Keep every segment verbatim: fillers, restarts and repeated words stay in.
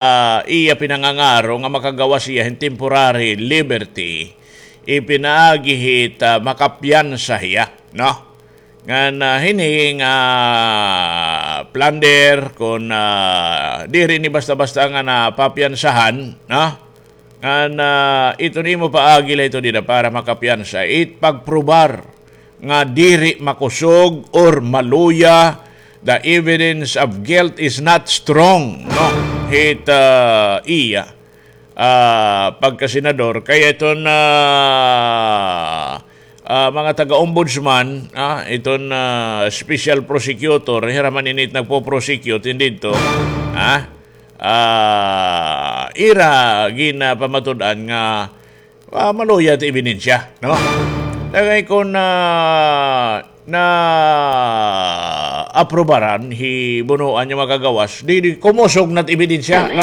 ah, iya pinangangaro nga makagawas hiya hin temporary liberty, ipinaagi hit, ah, makapiyansa hiya, no? Ngan, ah, hini nga plunder kon, ah, diri ini basta-basta nga napapiyansahan, no? Ngan, ah, iton imo paagi la ito dida para makapiyansa. It pagprobar nga diri makusog or maluya, the evidence of guilt is not strong, no? Hit, ah, iya, ah, pagkasenador. Kaya iton, ah, ah, mga taga-ombudsman, ah, iton, ah, special prosecutor, hira man ini it nagpo-prosecute, hindi ito, ah, ah, ira ginapamatud-an nga, ah, maluya it ebidensya, no? Tagay kon, ah, naaprubaran hi Bonoan nga makagawas, di, di kumusog na it ebidensya, no?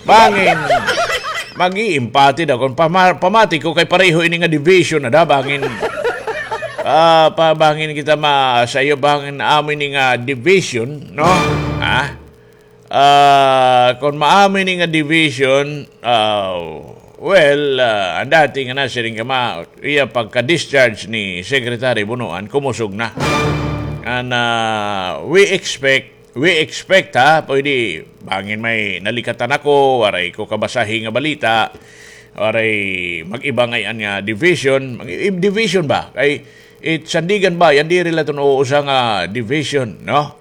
Bangin, mag-iimpati daw kon pama-, pamati ko kay pareho ini nga division na da, bangin. Ah, pa, bangin kita masayo, bangin amo ini nga division, no? Ha? Ah, kon maamo ini nga division, ah, well, ah, an dati nga nasiring kama, iya pagka-discharge ni Secretary Bonoan, kumusog na. And, ah, we expect, we expect, ha, pwede, bangin may nalikatan ako, waray ko kabasahi nga balita, waray mag-iba ngay-an nga division, mag-, division ba? Kay, it Sandiganbayan, diri la iton usa nga division, no?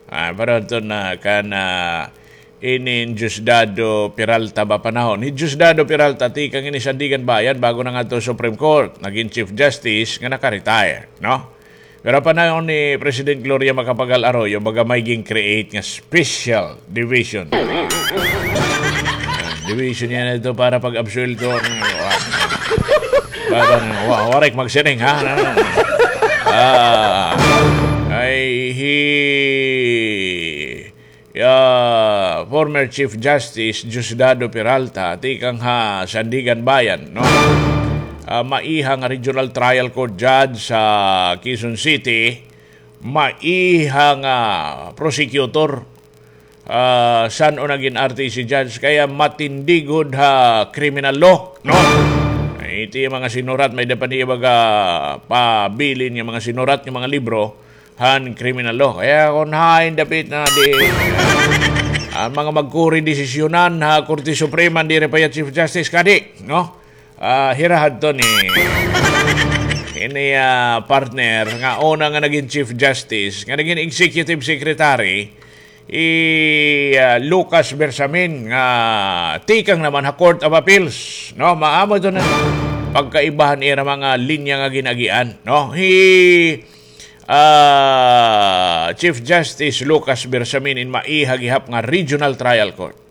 Ah, pero ito na kan, ah, inin Diosdado Peralta ba panahon? Hi Diosdado Peralta, tikang ini Sandiganbayan, bago nangadto Supreme Court, nagin Chief Justice nga naka-retire, no? Pero panahon ni President Gloria Macapagal Arroyo, baga may gin-create nga special division. Ah, division niya na ito para pag-absuelto. Para, wa-, waray magsiring, ha? Ah, ay, hi, ah, former Chief Justice Diosdado Peralta, tikang ha Sandiganbayan, no? Ah, maiha nga Regional Trial Court Judge sa Quezon City, maiha nga prosecutor, ah, san-o nagin R T C judge, kaya matindi gud ha criminal law, no? Ay, iti mga sinurat, may-ada pa niya baga pabilin nga mga sinurat nga mga libro han criminal law. Kaya kon hain dapit na di, an mga magkuri desisyonan ha Korte Suprema, diri pa iya Chief Justice kadi, no? Ah, hira hadto ni ini, ah, partner nga una nga nagin Chief Justice, nga nagin Executive Secretary, hi, ah, Lucas Bersamin, nga tikang naman ha Court of Appeals, no? Maamo ito na pagkaibahan ira mga linya nga gin-agian, no? Hi, ah, Chief Justice Lucas Bersamin in maiha gihap nga Regional Trial Court.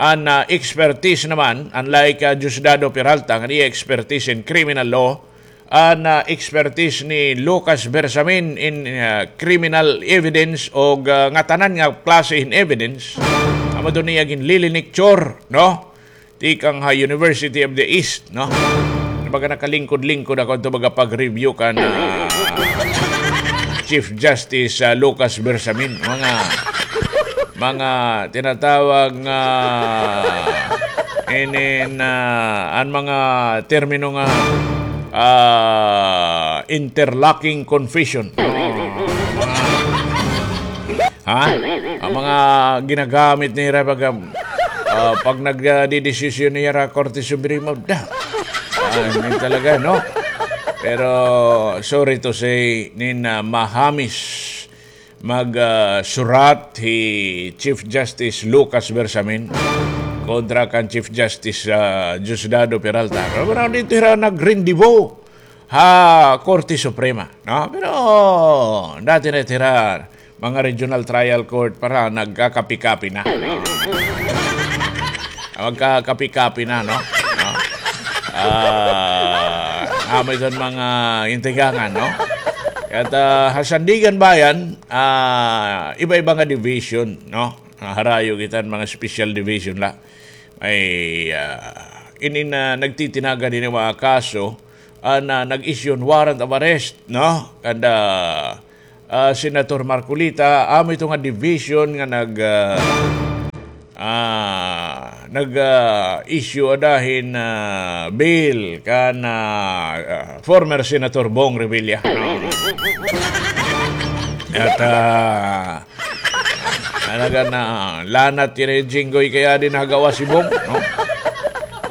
An, ah, expertise naman, unlike, ah, Diosdado Peralta, nga iya expertise in criminal law, an, ah, expertise ni Lucas Bersamin in, ah, criminal evidence o, ah, ngatanan nga klase hin evidence, amo ito niya ginliliniktsur, no? Tikang ha University of the East, no? Baga nakalingkod-lingkod ako ito, baga pag-review kan, ah, Chief Justice, ah, Lucas Bersamin. Mga, mga tinatawag nga inin, ah, an mga termino nga, ah, interlocking confession. Mga, ha? An mga ginagamit nira pag, ah, pag nagdedesisyon nira Korte Suprema, da. Ah, yun talaga, no? Pero, sorry to say, nin, ah, mahamis mag, ah, surat hi Chief Justice Lucas Bersamin kontra kan Chief Justice, ah, Diosdado Peralta. Pero, pero dito hira nag-rendezvous ha Korte Suprema, no? Pero dati na hira mga regional trial court para nagkakapi-kapi na. Magkakapi-kapi na, no? No? Ah, amo iton mga intigangan, no? At, ah, ha Sandiganbayan, ah, iba-iba nga division, no? Ah, harayo kita mga special division la. Ay, ah, ini na nagtitinaga din mga kaso, ah, na nag-issue warrant of arrest, no? Kada, ah, Senator Marcoleta, amo ito nga division nga nag, ah, nag, ah, issue ada hin, ah, bail kan, ah, ah, former Senator Bong Revilla. At, ah, talaga na lanat kini Jinggoy kay adi nagawas hi Bong, no?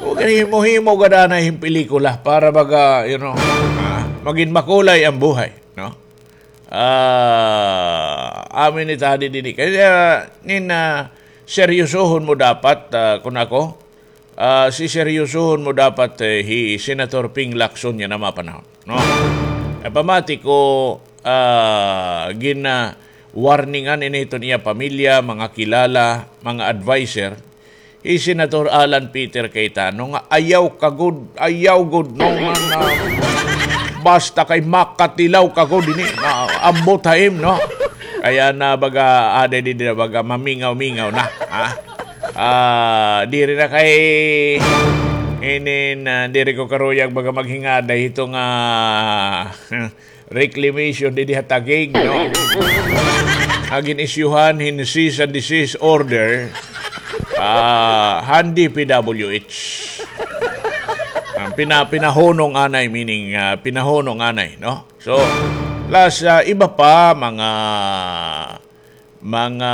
O, gani himo-himo gad anay hin pelikula para baga, you know, ah, magin makulay an buhay, no? Ah, amin it adi dinhi. Kay, ah, nin, ah, seryosohon mo dapat, ah, kun ako, ah, siseryosohon mo dapat, eh, hi Senator Ping Lacson yana mga panahon, no? Kay pamati ko, ah, gin, ah, warningan ini hiton iya pamilya, mga kilala, mga adviser, hi Senator Alan Peter Cayetano nga ayaw ka gud, ayaw gud, no, nga, nga basta kay makatilaw ka gud ini, maabot ha im, no? Kaya na baga, adi dinhi na baga, mamingaw-mingaw na, ha? Ah, diri na kay, inin, ah, diri ko karuyag baga maghingaday hito nga, ah, reclamation dinhi ha Taguig, no? Nga gin-isyuhan hin cease and desist order, ah, han D P W H. An pina-, pinahunong anay, meaning, ah, pinahunong anay, no? So, plus, ah, iba pa, mga mga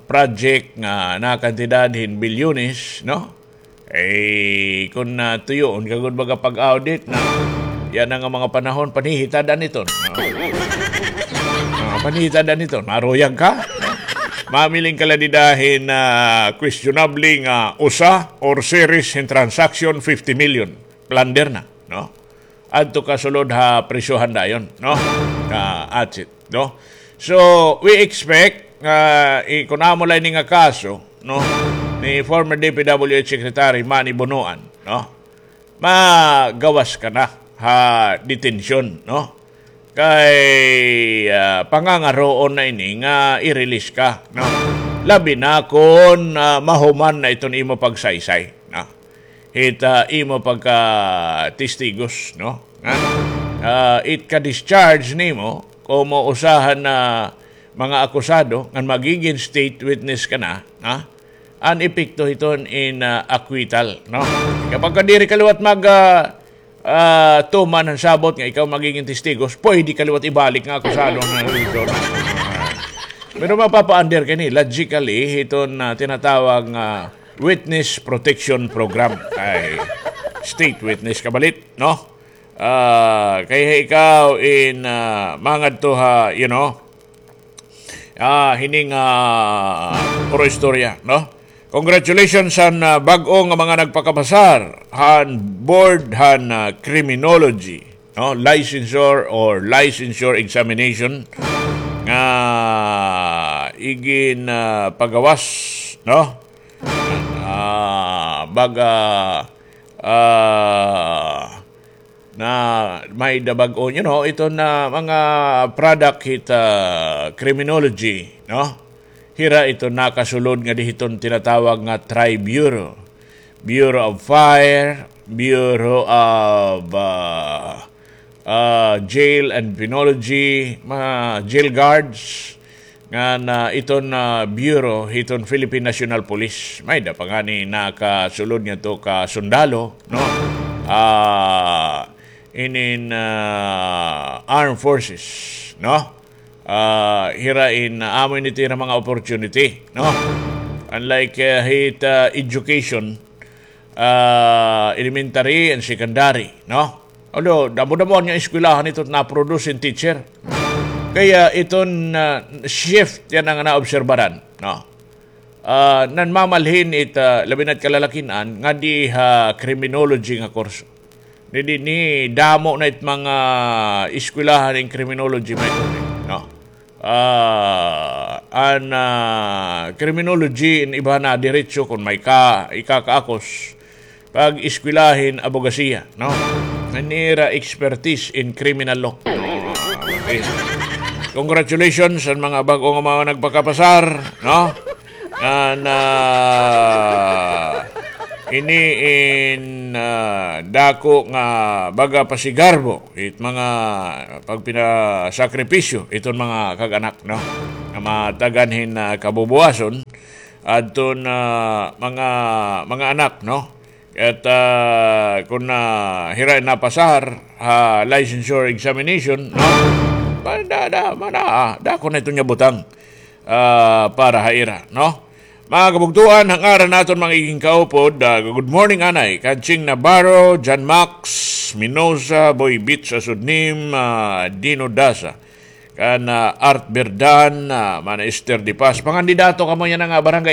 project nga nakantidad hin bilyones, no? Eh, kun, ah, tuyoon ka gud baga pag-audit na, yana nga mga panahon, panhihitad-an iton. Ah. Ah, panhihitad-an iton. Maruyag ka? Mamiling ka la dida hin, ah, questionable nga usa or series hin transaction, fifty million. Plunder na, no? Adto ka sulod ha prisohan dayon, no? Ka atsit, no? So, we expect nga, i-, kun amo la ini nga kaso, no, ni former D P W H Secretary Manny Bonoan, no, magawas ka na ha detention, no? Kay, ah, pangangaroon na ini nga i-release ka, no? Labi na kun, ah, mahuman na iton imo pagsaysay, no? Hit, ah, imo pagka-testigos, no? Ngan, ah, it ka-discharge nimo, komo usa han mga akusado, ngan magigin state witness ka na, ha? An epekto hiton in, ah, acquittal, no? Kapag ka diri ka liwat mag, ah, ah, tuman han sabot nga ikaw magigin testigos, pwede ka liwat ibalik nga akusado nga dito, no? Pero mapapa-under ka ini, logically, hiton, ah, tinatawag nga witness protection program. Ay, state witness kabalit, no? Ah, kay ikaw in, ah, mangadto ha, you know, ah, hining, ah, puro istorya, no? Congratulations han, ah, bag-o nga mga nagpakapasar han board han, ah, criminology, no? Licensure or licensure examination nga igin, ah, pagawas, no? Ah, baga, ah, na may-ada bag-o, you know, iton mga product hit, ah, criminology, no? Hira iton nakasulod ngadi hiton tinatawag nga tri-bureau. Bureau of Fire, Bureau of, ah, ah, Jail and Penology, mga jail guards, ngan iton, ah, bureau hiton Philippine National Police. May-ada pa ngani nakasulod ngadto ka sundalo, no? Ah, inin, ah, armed forces, no? Ah, hira in, ah, amo ini it ira mga opportunity, no? Unlike, ah, hit, ah, education, ah, elementary and secondary, no? Although, damo-damo an eskwelahan hito na-produce hin teacher. Kaya iton, ah, shift yana nga naobserbaran, no? Ah, nanmamalhin it, ah, labi na it kalalakin-an ngadi ha criminology nga kurso. Ni, ni, ni damo na it mga eskwelahan hin criminology, may kundi, no? Ah, an, ah, criminology in iba na diretso kun may ka, ikakaakos, pag-eskwela hin abogasiya, no? An ira expertise in criminal law. Okay. Congratulations han mga bag-o nga mga nagpakapasar, no? An, ah, ini in, ah, dako nga baga pasigarbo it mga pagpinasakripisyo iton mga kag-anak, no? Nga matagan hin, ah, kabubuwason, adton mga, mga anak, no? At, ah, kun, ah, hira napasahar ha licensure examination, no? Ma-, da, da, mana, ah, dako na iton nga butang, ah, para ha ira, no? Mga kabugtuan, ha ngaran naton mga iging kaupod, ah, good morning, anay. Kan Ching Navarro, John Max Minosa, Boy Beach Asudnim, ah, Dino Dasa. Kan, ah, Art Berdan, ah, Mana Esther de Paz. Pangandidato kamo yana nga barangay